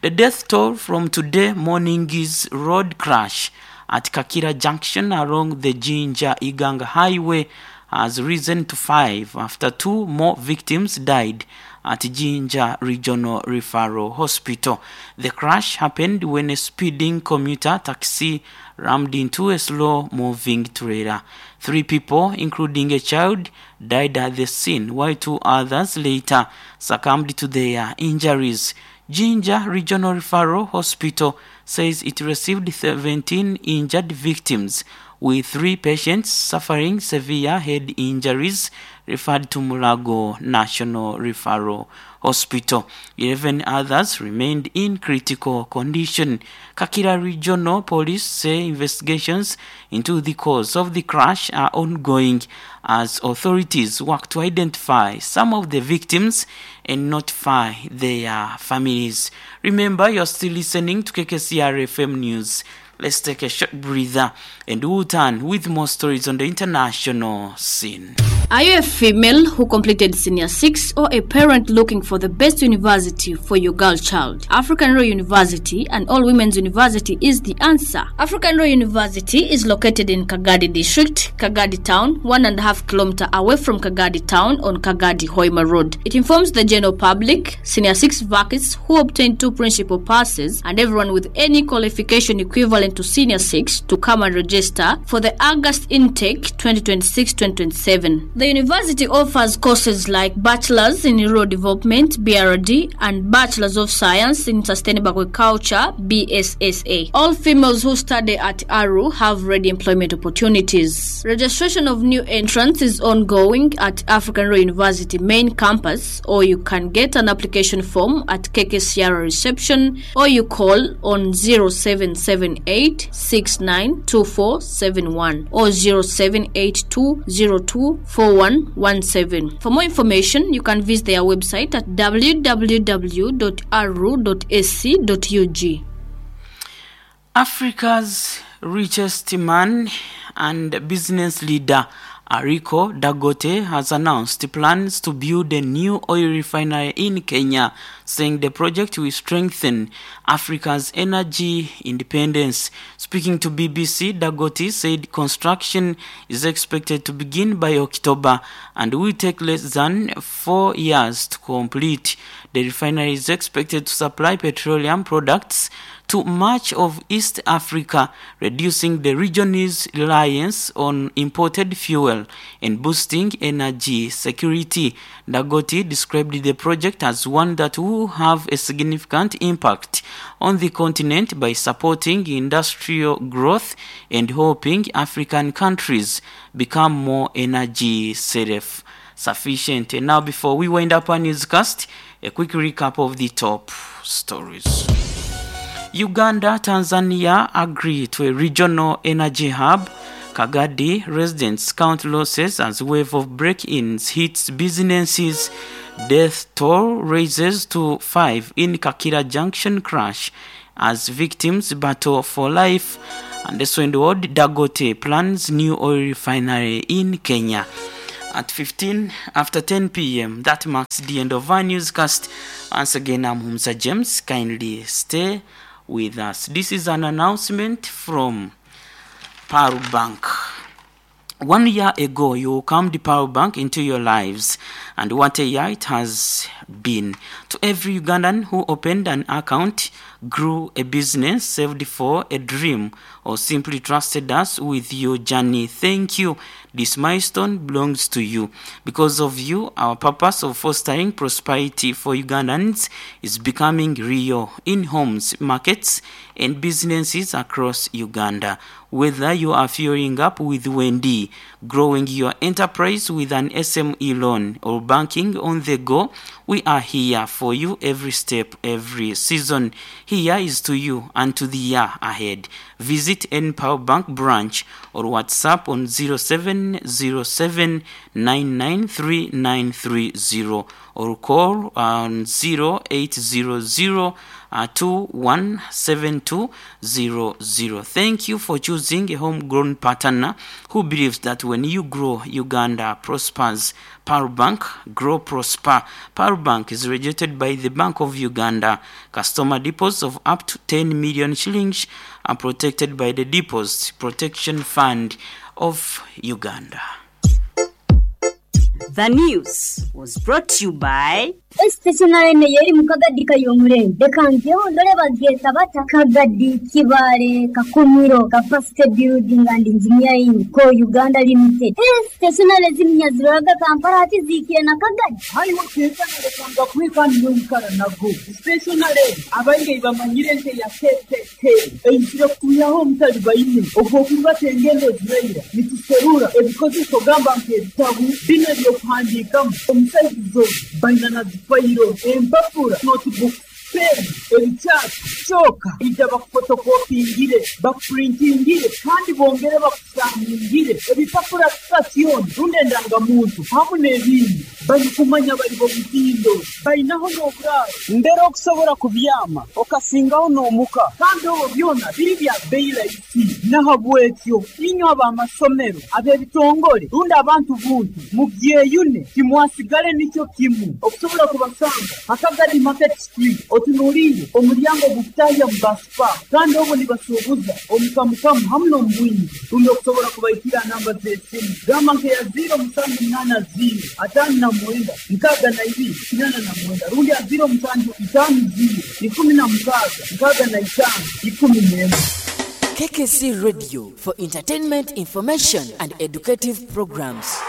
The death toll from today morning's road crash at Kakira Junction along the Jinja Iganga Highway has risen to five after two more victims died at Jinja Regional Referral Hospital. The crash happened when a speeding commuter taxi rammed into a slow-moving trailer. Three people, including a child, died at the scene, while two others later succumbed to their injuries. Jinja Regional Referral Hospital says it received seventeen injured victims, with three patients suffering severe head injuries referred to Mulago National Referral Hospital. Eleven others remained in critical condition. Kakira Regional Police say investigations into the cause of the crash are ongoing as authorities work to identify some of the victims and notify their families. Remember, you're still listening to K K C R F M News. Let's take a short breather and we'll turn with more stories on the international scene. Are you a female who completed Senior six or a parent looking for the best university for your girl child? African Royal University and All Women's University is the answer. African Royal University is located in Kagadi District, Kagadi Town, one and a half kilometer away from Kagadi Town on Kagadi Hoima Road. It informs the general public, Senior six vacancies who obtained two principal passes, and everyone with any qualification equivalent to Senior six to come and register for the August intake twenty twenty-six twenty twenty-seven. The university offers courses like Bachelor's in Rural Development, B R D, and Bachelor's of Science in Sustainable Agriculture, B S S A. All females who study at A R U have ready employment opportunities. Registration of new entrants is ongoing at African Royal University main campus, or you can get an application form at K K C R reception, or you call on zero seven seven eight six nine two four seven one or zero seven eight two zero two four one one seven. For more information, you can visit their website at w w w dot a r u dot a c dot u g. Africa's richest man and business leader, Aliko Dangote, has announced plans to build a new oil refinery in Kenya, saying the project will strengthen Africa's energy independence. Speaking to B B C, Dangote said construction is expected to begin by October and will take less than four years to complete. The refinery is expected to supply petroleum products to much of East Africa, reducing the region's reliance on imported fuel and boosting energy security. Dangote described the project as one that will have a significant impact on the continent by supporting industrial growth and helping African countries become more energy self-sufficient. And now, before we wind up our newscast, a quick recap of the top stories. Uganda, Tanzania agree to a regional energy hub. Kagadi residents count losses as wave of break-ins hits businesses. Death toll raises to five in Kakira Junction crash as victims battle for life. And the in the world, Dangote plans new oil refinery in Kenya. At fifteen after ten p m, that marks the end of our newscast. Once again, I'm Humza James. Kindly stay with us. This is an announcement from Pearl Bank. One year ago, you welcomed the Pearl Bank into your lives, and what a year it has been. To every Ugandan who opened an account, grew a business, saved for a dream, or simply trusted us with your journey, thank you. This milestone belongs to you. Because of you, our purpose of fostering prosperity for Ugandans is becoming real in homes, markets, and businesses across Uganda. Whether you are fueling up with Wendy, growing your enterprise with an S M E loan, or banking on the go, we are here for you every step, every season. Here is to you and to the year ahead. Visit N Power Bank branch or WhatsApp on zero seven zero seven nine nine three nine three zero or call on zero eight zero zero two one seven two zero zero. Thank you for choosing a homegrown partner who believes that when you grow, Uganda prospers. Pearl Bank, grow, prosper. Pearl Bank is regulated by the Bank of Uganda. Customer deposits of up to ten million shillings are protected by the Deposit Protection Fund of Uganda. The news was brought to you by Stationary yeri mukagadi kayomurenge dekangeho ndore bageta bata Kagadi Kibale Kakumiro Capacity Building and Engineering Co Uganda Limited. Stationary zimnyaziraga Kampala ati zikiye na Kagadi hariho stationary kanga kwikani yikara nago stationary abainge bamanyire nte ya K K K eyisire kuyaho mutali bayine ogwo kubatengendo ziraira nituserura ebikozeso gamba nk'ebitabu bino ebyokuhandiikamu omusaizo bainana fayiro empapura notebook pen ebikyapa kyoka ija bakufotokopingire bakupurintingire kandi bongere bakusangingire ebipapura sitasioni rundi endangamuntu hamu n'ebindi barikumanya bari bomutindo bainaho n'oburaro mbere okusobora kubyama okasingaho n'omuka kandi obwo byona biri bya beyi rahisi nahabwekyo inywe ab'amasomero ab'ebitongole rundi abantu buntu mubyeyune timwasigale nikyo kimu okusobola kubasanga Akagadi Market Street otunuulire omulyango gukutahya mu baspa kandi obwo nibasuubuza omukamukamu hamu n'omubwingi rundi okusobola kubaikira namba z'esimu gamba nkeya ziro musanju munaana ziro ataano na mwenda nkaaga na ibiri kinaana na mwenda rundi ya ziro musanju itaano ziro ikumi na mukaaga nkaaga na itaano ikumi n'emwe. K K C Radio for entertainment, information and educative programs.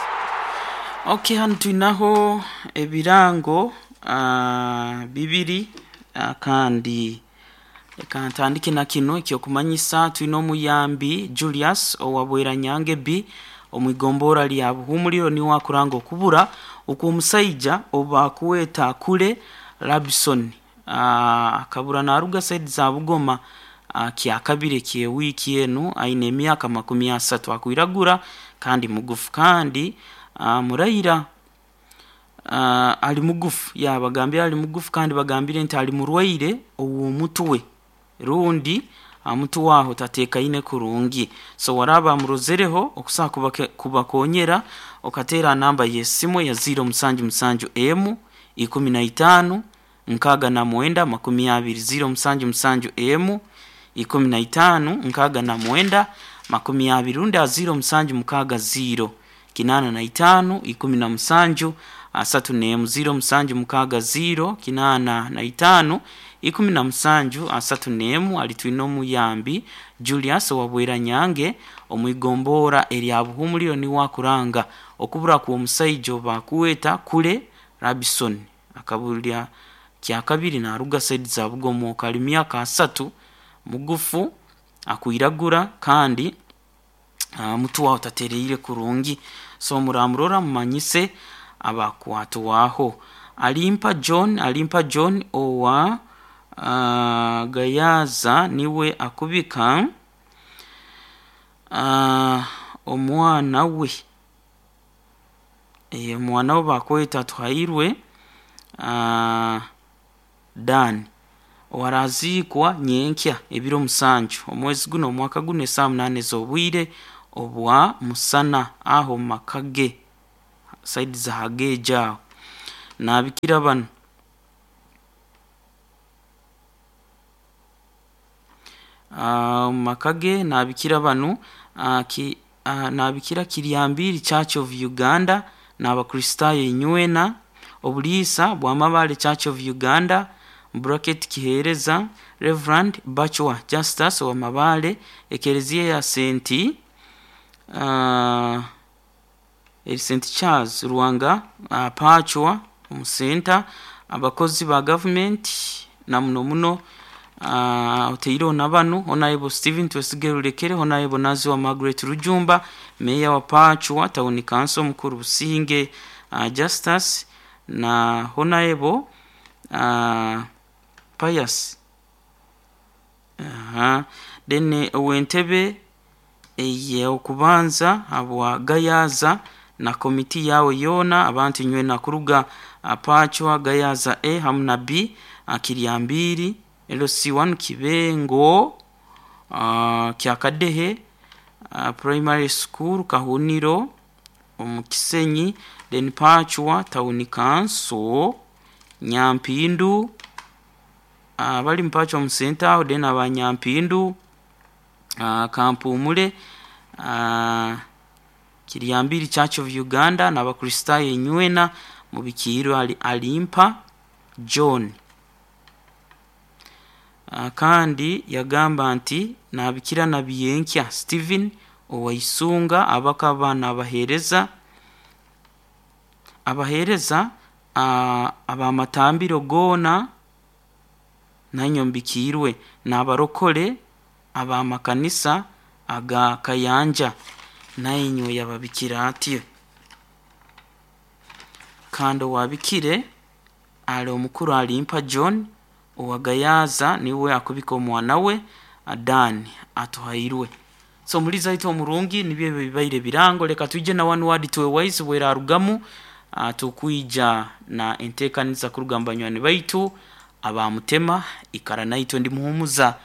Okay, hano tuinaho ebirango uh, bibiri uh, kandi reka ntandike na kino ekyokumanyisa. Twine omuyambi Julius owabwera Nyange B omwigombora lya Buhumuliro niwe akuranga okubura okw'omusaija oba kuweta kule Labson uh, akabura naruga side za Bugoma uh, kyakabire kye wiki enu aine emyaka makumi asatu akwiragura kandi mugufu kandi uh, murayira uh, ali mugufu yabagambira ali mugufu kandi bagambire nti ali murwaire ow'omutwe rundi Amutu waho tatekaine kurungi. So waraba murozereho okusa kubakonyera okatera namba yesimu ya zero musanju musanju emu ikumi na itano nkaga na mwenda makumi abiri zero musanju musanju emu ikumi na itano nkaga na mwenda makumi abiri runda zero musanju mukaga zero kinana na itano ikumi na musanju asatu nemu zero musanju mukaga zero kinana na itano ikumi na musanju asatu nemu alitwino muyambi Julius wabwera nyange omwigombora erya buhumuliro ni wakuranga okubura ku omusaijo bakuweta kule Rabison akabulya kya kabiri na ruga said za bugomo kalimia ka asatu mugufu akuiragura kandi uh, mutu wa utatereire kurungi. So muramurora mumanyise abakwatu waho. Alimpa John Alimpa John owa uh, Gayaza niwe akubika uh, omwana we e, omwana we bakweta Tuhairwe uh, Dan owarazikwa nyenkya ebiro musanju omwezi guno omwaka guno esaa munane z'obwire obwa musana aho makage saidi za hageja nabikira bano uh, makage nabikira bano uh, ki, uh, nabikira Kiryambiri Church of Uganda n'abakristayo inywena obuliisa bwamabale Church of Uganda bracket kihereza Reverend Bachwa Justus wa Mabale ekereziya ya Saint uh, Saint Charles Ruwanga uh, Pachwa omusenta abakozi ba government na muno muno uh, oteiro nabanu Honorable Stephen Twesigerulekere Honorable Nazi wa Margaret Rujumba Mayor wa Pachwa Town Council mukuru Businge uh, Justus na Honorable Uh, Pius aha uh, then owentebe eye okubanza abwa Gayaza na komiti yawe yona abantu nywe na kuruga Apachwa Gayaza A hamu na B Kiryambiri L C one Kibengo uh, Kyakadehe uh, Primary School Kahuniro omukisenyi then Pachwa Town Council Nyampindu abali uh, mpacho musenta aho then abanyampindu uh, Kampumule uh, Kiryambiri Church of Uganda n'abakristayo inywena mubikiro ali, alimpa John uh, kandi yagamba nti nabikira nabiyenkya Stephen owaisunga abakaba nabahereza abahereza Uh, abamatambiro gona nanyombikirwe n'abarokole abamakanisa aga Kayanja nainyo yababikira atyo. Kando wabikire ali omukuru alimpa John owagayaza niwe akubika omwana we Adani atuhairwe. So muliza ito omurungi nibyo bibaire birango leka tuje na one word to a wise wera arugamu Uh, tukuija na enteekaniza kurugamba nywani baitu abamutema ikara naito ndi muhumuza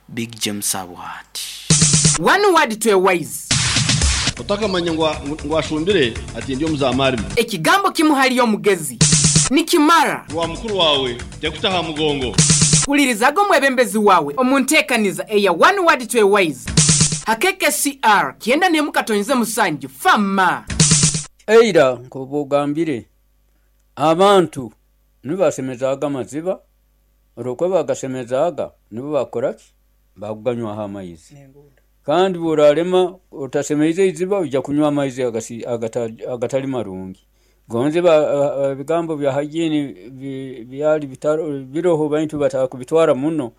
Big James Abwati. One word to a wise. Utakamanya ngwa ngwashumbire ati ndiyo muzamari. Ekigambo kimuhali omugezi nikimara wa mukuru wawe tekutaha mugongo. Ulirizago mwebembezi wawe omunteekaniza eya one word to a wise. Hakeke C R kienda nemukatonze musanju fama. Eira nkobogambire abantu nibasemezaga amaziba olwokwe bagasemezaga nibo bakoraki baguganywaho amaizi kandi bworarema otasemeize iziba ojja kunywa amaizi agatali marungi gonze ebigambo bya hygiene byali biroho bantu batakubitwara muno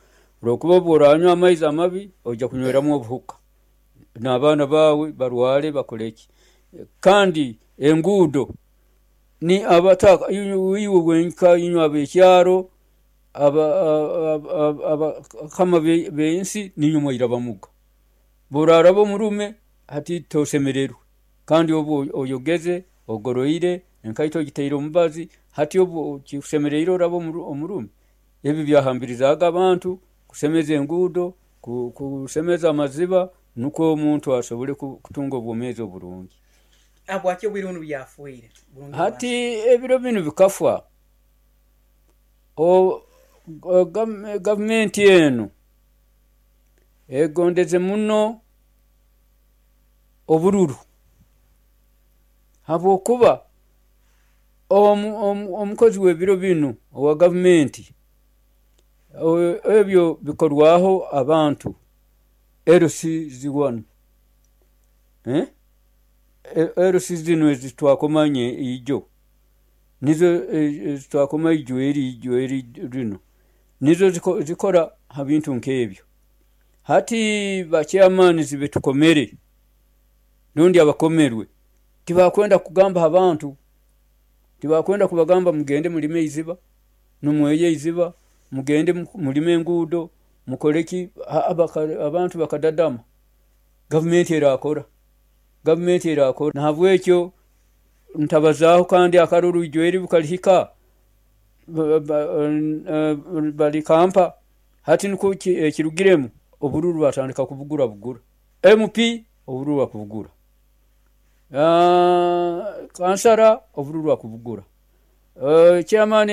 olwokuba bworanywa amaizi amabi ojja kunyweramu obuhuka n'abaana bawe barwale bakoleki kandi enguudo ni abataka iwe wenka inywa abekyaro aba abakama bensi ninyuma irabamuga borarabo murume hati tosemererwe kandi obu oyogeze ogoroire enkaito giteire omubazi hati obu kikusemereire orabo omurume ebi byahambirizaga abantu kusemeza enguudo ku- kusemeza amaziba nukwo omuntu asobole ku- kutunga obwomeezi oburungi. Habwaki obwire bunu byafuire Burungi? Hati ebiro binu bikafa. O- o- gam- gavumenti enu egondeze muno obururu, habwokuba omu- omu- omukozi w'ebiro binu owa gavumenti, o- ebyo bikorwaho abantu L C one, eh? L C zinu ezitwakomanye ijo nizo ezitwakoma ijo eri ijo eri rino nizo ziko- zikora ha bintu nk'ebyo. Hati bachairman betukomere rundi abakomerwe tibakwenda kugamba abantu, tibakwenda kubagamba mugende mulime eiziba, numweye eiziba, mugende mu- mulime enguudo, mukoleki. Abantu bakadadama, gavumenti erakora, gavumenti erakora. Nahabwekyo ntabazaaho, kandi akaruru ijo eri bukalihika ba- ba- eh, balikampa. Hati nukwo ki- ekirugiremu obururu batandika kubugura bugura. M P obururu bakubugura, Ah, kansara obururu bakubugura, Eh, chairman.